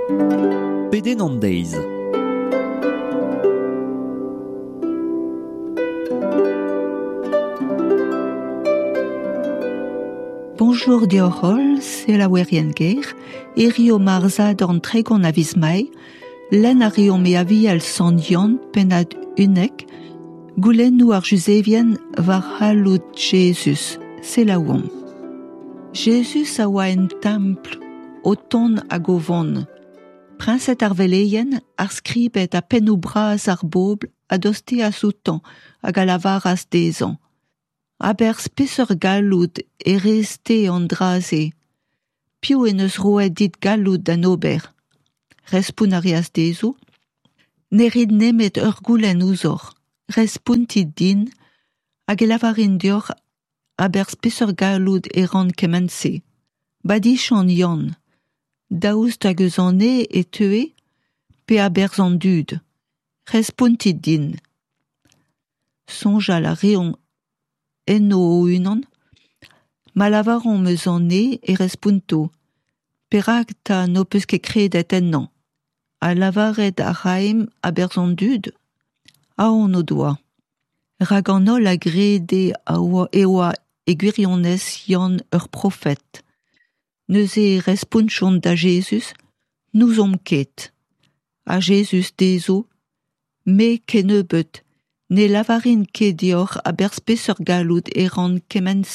Pedenn an deiz. Bonjour deoc'h holl, selaouerien ger, hirio mar zadorn 30 a viz Mae, lenn a reomp e Aviel Sant Yann, pennad 11, goulennoù ar Juzevien war c'halloud Jezuz. Selaouomp. Jezuz a oa en templ, o tont hag o vont. Priñsed ar veleien, ar skribed ha pennoù bras ar bobl a dosteas outañ hag a lavaras dezhañ: A-berzh peseurt galloud e rez-te an dra-se ? Piv en deus roet dit galloud d'en ober ? Respont a reas dezho: Ne rit nemet ur goulenn ouzhoc'h, respontit din, hag e lavarin deoc'h a-berzh peseurt galloud e ran kement-se. Badiziant Yann, daoust hag eus an neñv e teue pe a-berzh an dud ? Respontit din. Soñjal a reont enno o-unan, ma lavaromp eus an neñv e responto perak 'ta n'ho peus ket kredet ennañ ? Ha lavaret a raimp a-berzh an dud ? Aon o doa. Rak an holl a grede e oa e gwirionez Yann ur profed. Neuze e respontjont da Jezuz : N'ouzomp ket. Ha Jezuz dezho : Me kennebeut, ne lavarin ket deoc'h a-berzh peseurt galloud e ran kement-se.